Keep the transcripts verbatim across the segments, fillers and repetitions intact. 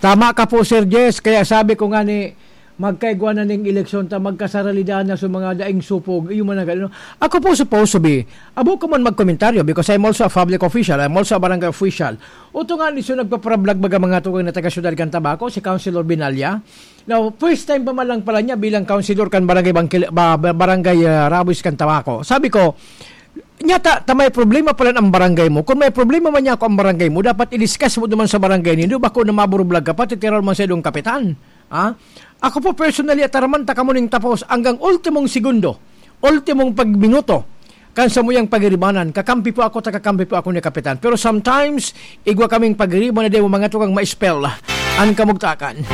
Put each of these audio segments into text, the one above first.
Tama ka po, Sir Jess. Kaya sabi ko nga ni, magkaigwa na ning eleksyon ta, magkasaralidan na sa mga daing supog. Iyo man ang gano'n. Ako po supposed to be, abo ko man magkomentaryo because I'm also a public official. I'm also a barangay official. Uto nga ni so nagpaparablag baga mga tugang na taga-syudad kan Tabaco, si Councilor Binalya. Now, first time pa man lang pala niya bilang councilor kan barangay Bangkil-, ba-, ba-, barangay, ah, Rabois kan Tabaco. Sabi ko, "Nyata, ta may problema pala ang barangay mo. Kung may problema man niya ako ang barangay mo, dapat i-discuss mo naman sa barangay nindo. Bako na maburublag ka pa, titiraw man sa idong kapitan." Ha? Ako po personally, ataraman ta kamo ning tapos hanggang ultimong segundo, ultimong pagminuto. Kan sa muyang pagiribanan, kakampi po ako, ta kakampi po ako ni Kapitan. Pero sometimes, igwa kaming pagiriban na di mo mga tugang ma-spell an kamugtakan.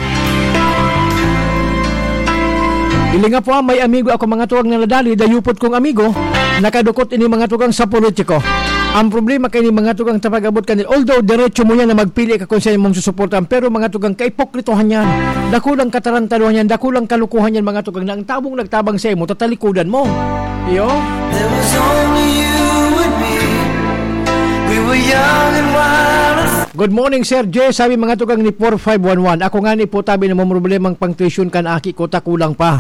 Ilinga po, ah, may amigo ako, mga tugang na nadali, dayupot kong amigo, nakadukot ini mga tugang sa politiko. Ang problema kay ni mga tugang tapag-abot kanil, although diretso mo yan na magpili ka kung saan mong susuportahan, pero mga tugang kaipokritohan yan, dakulang katarantaduhan yan, dakulang kalukuhan yan, mga tugang, na ang tabong nagtabang sa imo, tatalikodan mo. Iyo? There was only you and me. We were young and wild and Good morning, Sir Jay. Sabi mga tugang ni four five one one. Ako nga ni po tabi na may problemang pang tuition kan aki ko, ta kulang pa.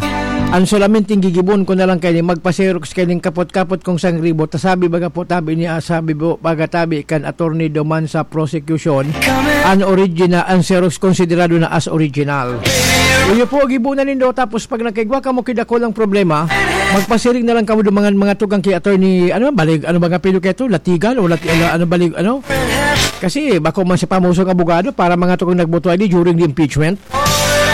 Ang solamente gigibon ko na lang kay ni magpa-xerox kay ning kapot-kapot kong sangribo. Ta sabi baga po tabi ni, ah, sabi po baga tabi kan attorney duman sa prosecution. An original, an xerox konsiderado na as original. Iyo po, gibunan nindo. Tapos pag nagkaigwa kamo ki dakulang problema, magpasiring na lang kamo dumangan mga tugang ki attorney, ano, balig, ano ba nga apelyido kaito? Latigan o Lati-, ano, ano, balig, ano? Kasi bako man si pamosong abogado para mga tugang nagboto ay di during the impeachment.